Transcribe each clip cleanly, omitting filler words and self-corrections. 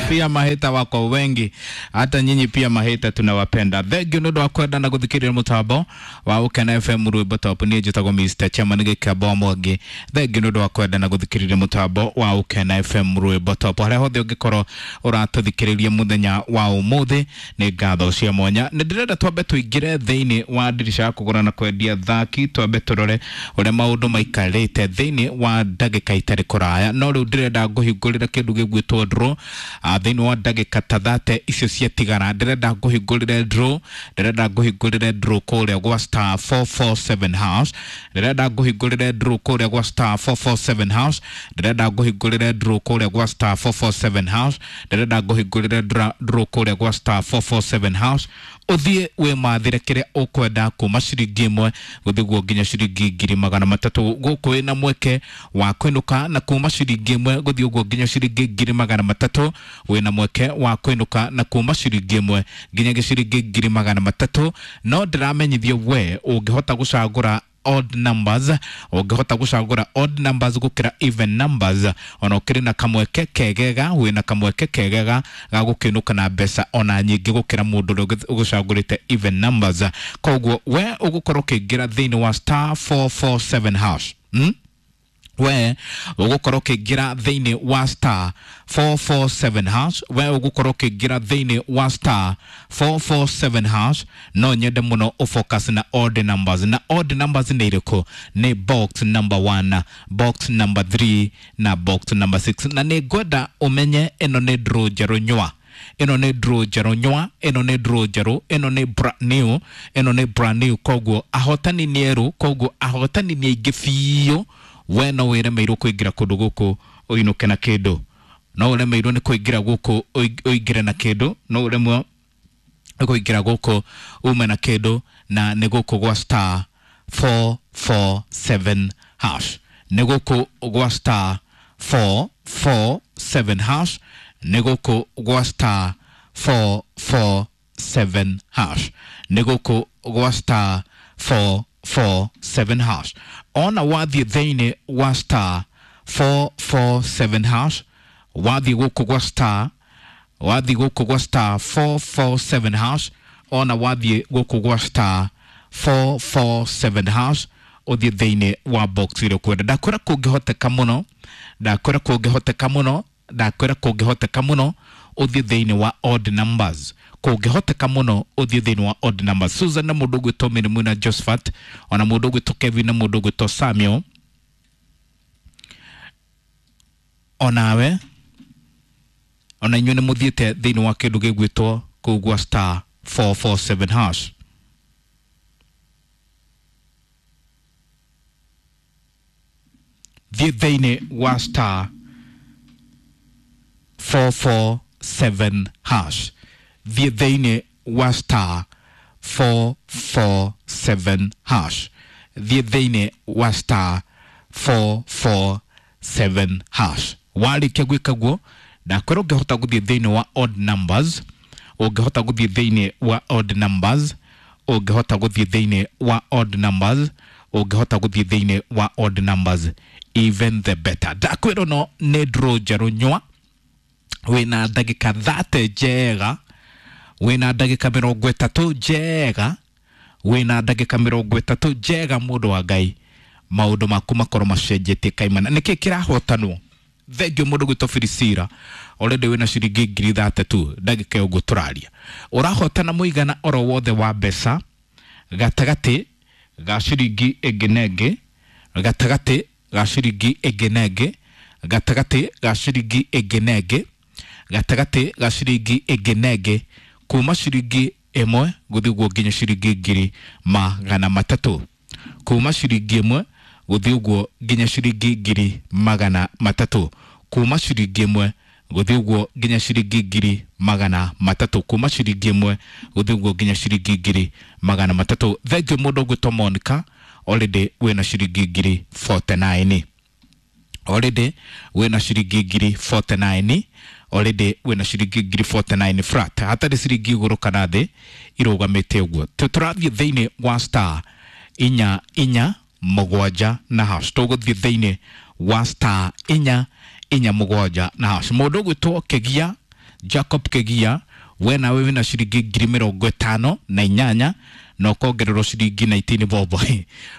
Pia maheta wako wengi, hata nyinyi pia maheta tunawapenda. Thank you nĩ ũndũ wa kwenda na gũthikĩrĩria mũtambo wa Ũkena FM rwĩmbo top. Niĩ njĩtagwo Mr. Chairman Gĩkĩamba Mwangi. Thank you nĩ ũndũ wa kwenda na gũthikĩrĩria mũtambo wa Ũkena FM rwĩmbo top. Harĩa hothe ũngĩkorwo ũratũthikĩrĩria mũthenya wa ũmũthĩ, nĩ ngatho cia mwanya. Nĩ ndĩrenda twambe tũingĩre thĩinĩ wa ndirica ya kũgũra na kwendia thaki, twambe tũrore ũrĩa maũndũ maikarĩte thĩinĩ wa ndagĩka itarĩ kũraya. No rĩu ndĩrenda ngũhingũrĩre kĩndũ gĩgwĩtwo draw thĩinĩ wa ndagĩka ta 30 icio ciatigara. Ndĩrenda ngũhingũrĩre draw, ndĩrenda ngũhingũrĩre draw kũrĩa gwa star 447 hash, ndĩrenda ngũhingũrĩre draw kũrĩa gwa star 447 hash, ndĩrenda ngũhingũrĩre draw kũrĩa gwa star 447 hash, ndĩrenda ngũhingũrĩre draw kũrĩa gwa star 447 hash. Ũthiĩ wĩmathĩre kĩrĩa ũkwenda kuma ciringi 1 gũthiĩ guo nginya ciringi 300,000. Gũkũ wĩna mweke wa kũinũka na kuma ciringi 1 gũthiĩ ũguo nginya ciringi 300,000. Wĩna mweke wa kũinũka na kuma ciringi 1 nginya ciringi 300,000. No ndĩramenyithio we ũngĩhota gũcagũra odd numbers, ũngĩhota gũcagũra odd numbers gũkĩra even numbers, ona ũkĩrĩ na kamweke kegega, wĩna kamweke kegega ga gũkĩinũka na mbeca ona nyingĩ gũkĩra mũndũ ũrĩa ũgũcagũrĩte even numbers. Koguo we ũgũkorwo ũkĩingĩra thĩinĩ wa star 447 hash, We ũgũkorwo ũkĩingĩra thĩinĩ wa star 447 hash, we ũgũkorwo ũkĩingĩra thĩinĩ wa star 447 hash. No nyende mũno ũfocus na odd numbers. Na odd numbers nĩ irĩkũ? Nĩ box number 1, box number 3 na box number 6. Na nĩ ngwenda ũmenye ĩno nĩ draw njerũ nywa, ĩno nĩ draw njerũ nywa, ĩno nĩ draw njerũ, ĩno nĩ brand new, ĩno nĩ brand new. Koguo ahotani nĩ erũ, koguo ahotani nĩ aingĩ biũ. We no wĩremeirwo kũingĩra kũndũ gũkũ ũinũke na kĩndũ, no ũremeirwo nĩ kũingĩra gũkũ ũingĩre na kĩndũ, no ũremwo nĩ kũingĩra gũkũ ume na kĩndũ. Na nĩ gũkũ gwa star 447 hash, nĩ gũkũ gwa star 447 hash, nĩ gũkũ gwa star 447 hash, nĩ gũkũ gwa star 447 hash. Ona wathiĩ thĩinĩ wa star 447 hash, wathiĩ gũkũ gwa star, wathiĩ gũkũ gwa star 447 hash, ona wathiĩ gũkũ gwa star 447 hash, ũthiĩ thĩinĩ wa box ĩrĩa ũkwenda. Ndakwĩra kũngĩhoteka mũno, ndakwĩra kũngĩhoteka mũno, ndakwĩra kũngĩhoteka mũno ũthiĩ thĩinĩ wa odd numbers, kũngĩhoteka mũno ũthiĩ thĩinĩ wa odd numbers. Susan na mũndũ ũgwĩtwo Mĩrimũ na Josephat, ona mũndũ ũgwĩtwo Kevin na mũndũ ũgwĩtwo Samuel, onawe ona inyuĩ nĩ mũthiĩte thĩinĩ wa kĩndũ gĩgwĩtwo kũu gwa star 447 hash. Thiĩ thĩinĩ wa star 447 hash, thiĩ thĩinĩ wa star 447 hash, thiĩ thĩinĩ wa star 447 hash. Warĩkia gwĩka guo, ndakwĩra ũngĩhota gũthiĩ thĩinĩ wa odd numbers, ũngĩhota gũthiĩ thĩinĩ wa odd numbers, ũngĩhota gũthiĩ thĩinĩ wa odd numbers, ũngĩhota gũthiĩ thĩinĩ wa odd numbers, even the better. Ndakwĩra no nĩ draw njerũ nywa, wĩna ndagĩka 30 njega, wĩna ndagĩka 30 njega, wĩna ndagĩka 30 njega, mũndũ wa Ngai, maũndũ maku makorwo macenjetie kaimana. Nĩkĩ kĩrahotanwo? Thengio mũndũ gwĩtwo Filisira, already wĩna ciringi 30,000 ndagĩka ĩyo tũraria. Ũrahotana mũigana oro wothe wa mbeca gatagatĩ ga ciringi ĩngĩ na ĩngĩ, gatagatĩ ga ciringi ĩngĩ na ĩngĩ, gatagatĩ ga ciringi ĩngĩ na ĩngĩ, gatagatĩ ga ciringi ĩngĩ na ĩngĩ, kuma ciringi 1 gũthiĩ ũguo nginya ciringi 300,000, kuma ciringi 1 gũthiĩ ũguo nginya ciringi 300,000, kuma ciringi 1 gũthiĩ ũguo nginya ciringi 300,000, kuma ciringi 1 gũthiĩ ũguo nginya ciringi 300,000. Thengio mũndũ ũgwĩtwo Monica, already wĩna ciringi 49,000, already wĩna ciringi 49,000, already wĩna ciringi 49,000 flat, hatarĩ ciringi igũrũ kana thĩ, irũgamĩte ũguo. Tũrathiĩ thĩinĩ wa star 4 4 7 na hash, tũgũthiĩ thĩinĩ wa star 4 4 7 na hash. Mũndũ ũgwĩtwo Kĩgia Jacob Kegia, we nawe wina ciringi 58,000 na ũkongererwo ciringi 19 bob.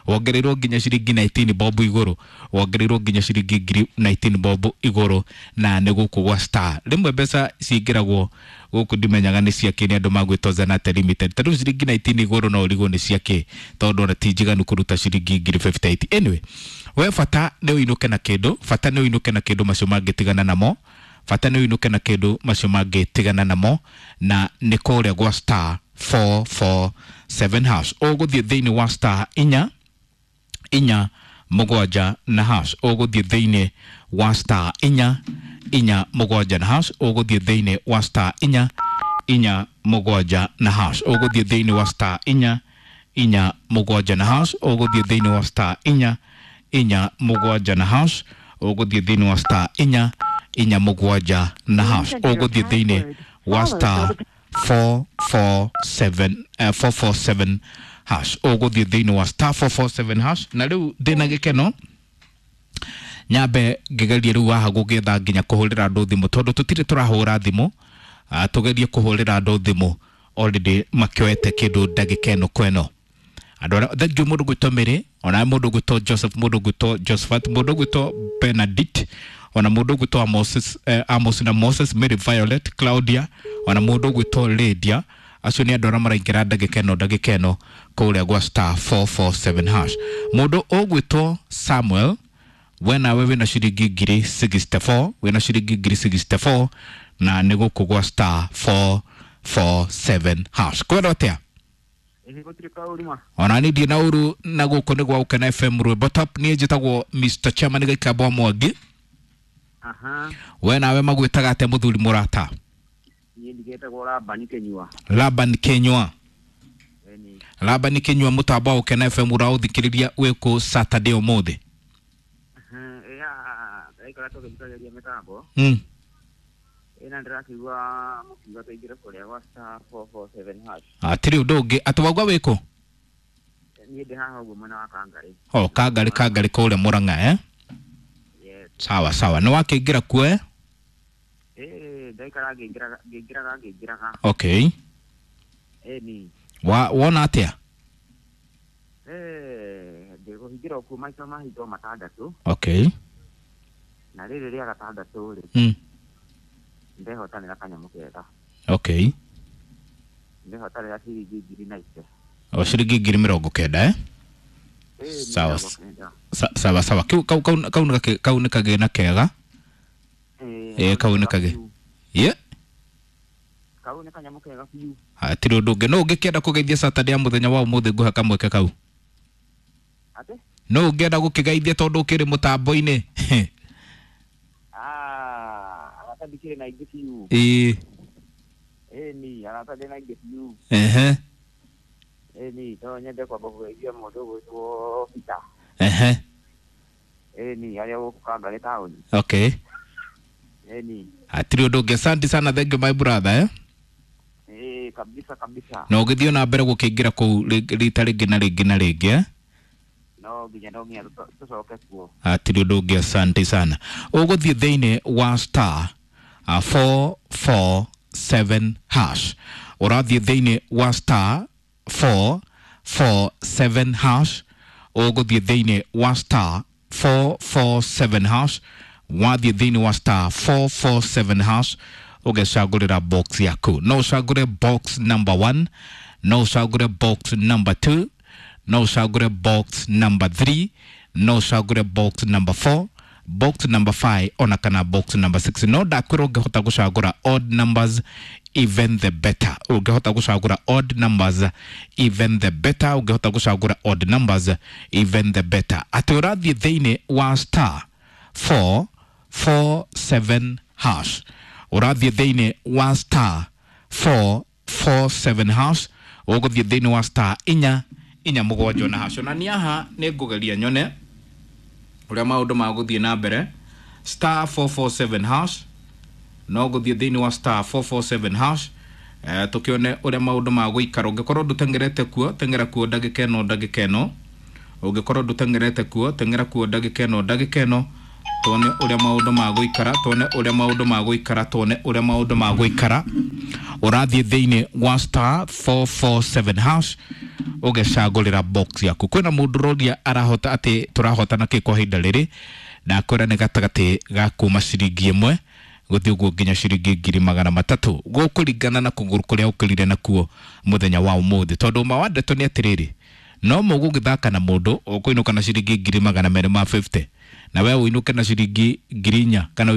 Wongereirwo nginya ciringi 19 bob igũrũ, wongereirwo nginya ciringi 19 bob igũrũ, na nĩ gũkũ gwa Star. Rĩmwe mbeca cingĩragwo gũkũ ndimenyaga nĩ ciakĩ, nĩ andũ magwĩtwo Zanate Limited. Ta rĩu ciringi 19 igũrũ no ũrigwo nĩ ciakĩ, tondũ ona ti njiganu kũruta ciringi 58,000. Anyway, we bata nĩ ũinũke na kĩndũ, bata nĩ ũinũke na kĩndũ, macio mangĩtigana namo. Bata nĩ ũinũke na kĩndũ, macio mangĩtigana namo. Na nĩ kũrĩa gwa star 447 hash. Ũgũthiĩ thĩinĩ wa star inya inya mũgwanja na hash. Ũgũthiĩ thĩinĩ wa star inya inya mũgwanja na hash. Ũgũthiĩ thĩinĩ wa star inya inya mũgwanja na hash. Ũgũthiĩ thĩinĩ wa star inya inya mũgwanja na hash. Ũgũthiĩ thĩinĩ wa star inya inya mũgwanja na hash. Ũgũthiĩ thĩinĩ wa star inya inya mũgwanja na hash. Ũgũthiĩ thĩinĩ wa star 447 447 hash. Ũgũthiĩ thĩinĩ wa star 447 hash. Na rĩu ndĩna gĩkeno nyambe ngĩgerie rĩu haha gũgĩetha nginya kũhũrĩra andũ thimũ, tondũ tũtirĩ tũrahũra thimũ. Tũgerie kũhũrĩra andũ thimũ already makĩoete kĩndũ ndagĩka ĩno kweno. Andũ arĩa thank you, mũndũ gwĩtwo Mary, ona mũndũ gwĩtwo Joseph, mũndũ gwĩtwo Josephat, mũndũ gwĩtwo Benedict, ona mũndũ gwĩtwo Amos, Amos na Moses, Mary Violet, Claudia, ona mũndũ gwĩtwo Lydia. Acio nĩ andũ arĩa maraingĩra ndagĩka ĩno kũrĩa gwa star 447 hash. Mũndũ ũgwĩtwo Samuel, we nawe wĩna ciringi 64,000, wĩna ciringi 64,000, na nĩ gũkũ gwa star 447 hash. Kwenda atĩa? Ĩhĩ, gũtirĩ kaũru ma. Ona ni ndiĩ na ũru, na gũkũ nĩ gwa Ũkena FM rwĩmbo top. Niĩ njĩtagwo Mr Chairman Gĩkamba Mwangi. Aha. We nawe magwĩtaga atĩa, mũthuri mũrata? Niĩ ndigĩtagwo Labani Kĩnyua. Laban Kenywa. Ĩni. Laban Kenywa, mũtambo wa Ũkena FM ũraũthikĩrĩria wĩkũ Saturday ũmũthĩ? Ĩya, ndaikara tũgĩthikagĩria mĩtambo. Ĩna ndĩrakĩigua mũkiuga tũingĩre kũrĩa gwa star 447 hash. Hatirĩ ũndũ ũngĩ atĩ waigua wĩkũ? Niĩ ndĩ haha ũguo mwena wa Kangarĩ. O Kangarĩ, Kangarĩ kũrĩa Mũrang'a, eh? Yes. Sawa sawa, nĩ wakĩingĩra kuo, eh? Ĩĩ, ndaikara ngĩingĩraga ngĩingĩraga ngĩingĩraga. Okay. Ĩni. Wa wona atĩa? Ĩĩ, ndĩkũhingĩra okuo maita mahingo matandatũ. Okay. Na rĩrĩ rĩa gatandatũ rĩ, ndehotanĩra kanyamũ kega. Okay. Ndehotanĩra ciringi 90,000. O ciringi 90,000, eh? Ĩĩ, Sawa. 90. Sawa sawa, kau kau kau kau nĩ kau nĩ kagĩna kega. Ĩĩ, kau nĩ kagĩ ye. Kau nĩ kanyamũ kega biũ. Hatirĩ ũndũ ũngĩ, no ũngĩkĩenda kũgeithia Saturday ya mũthenya wa ũmũthĩ, ngũhe kamweke kau. Atĩ? No ũngĩenda gũkĩgeithia tondũ ũkĩrĩ mũtambo-inĩ. Ah, arata ndikĩrĩ na aingĩ biũ. Ĩĩ. Ĩni, arata ndĩ na aingĩ biũ. Ĩni, no nyende kwamba kũgeithia mũndũ ũgwĩtwo Peter. Ĩni, arĩa gũkũ Kangarĩ taũni. Okay. Ĩni. Hatirĩ ũndũ ũngĩ, asante sana, thank you my brother, eh? Ĩĩ, kabisa kabisa. Na ũgĩthiĩ na mbere gũkĩingĩra kũu rita rĩngĩ na rĩngĩ na rĩngĩ, eh? No nginya tũcoke kuo. Hatirĩ ũndũ ũngĩ, asante sana. Ũgũthiĩ thĩinĩ wa star 447 hash. Ũrathiĩ thĩinĩ wa star 447 hash. Ũgũthiĩ thĩinĩ wa star 447 hash. Wathiĩ thĩinĩ wa star 447 hash, ũgecagũrĩra box yaku. No ũcagũre box number 1, no ũcagũre box number 2, no ũcagũre box number 3, no ũcagũre box number 4, box number 5, ona kana box number 6. No ndakwĩra ũngĩhota gũcagũra odd numbers, even the better. Ũngĩhota gũcagũra odd numbers, even the better. Ũngĩhota gũcagũra odd numbers, even the better. Atĩ ũrathiĩ thĩinĩ wa star 447 hash. Ũrathiĩ thĩinĩ wa star 447 hash. Ũgũthiĩ thĩinĩ wa star inya inya mũgwanja na hash. Na niĩ haha nĩ ngũgeria nyone ũrĩa maũndũ magũthiĩ na mbere. Star 447 hash, no gũthiĩ thĩinĩ wa star 447 hash, tũkĩone ũrĩa maũndũ magũikara. Ũngĩkorwo ndũteng'erete kuo, teng'era kuo ndagĩka ĩno ndagĩka ĩno. Ũngĩkorwo ndũteng'erete kuo, teng'era kuo ndagĩka ĩno ndagĩka ĩno. Tuone ũrĩa maũndũ magũikara, tuone ũrĩa maũndũ magũikara, tuone ũrĩa maũndũ magũikara. Ũrathiĩ thĩinĩ wa star 447 hash ũgecagũrĩra box yaku. Kwĩna mũndũ ũroria arahota atĩ tũrahotana kĩ kwa ihinda rĩrĩ, ndakwĩra nĩ gatagatĩ ga kuma ciringi 1 gũthiĩ ũguo nginya ciringi 300,000, gũkũringana na kũgũrũ kũrĩa ũkĩrire nakuo mũthenya wa ũmũthĩ. Tondũ ma wa ndeto nĩ atĩrĩrĩ, no mũgũgĩthaka na mũndũ ũkũinũka na ciringi 250,000 na we ũinũke na ciringi 4,000 kana.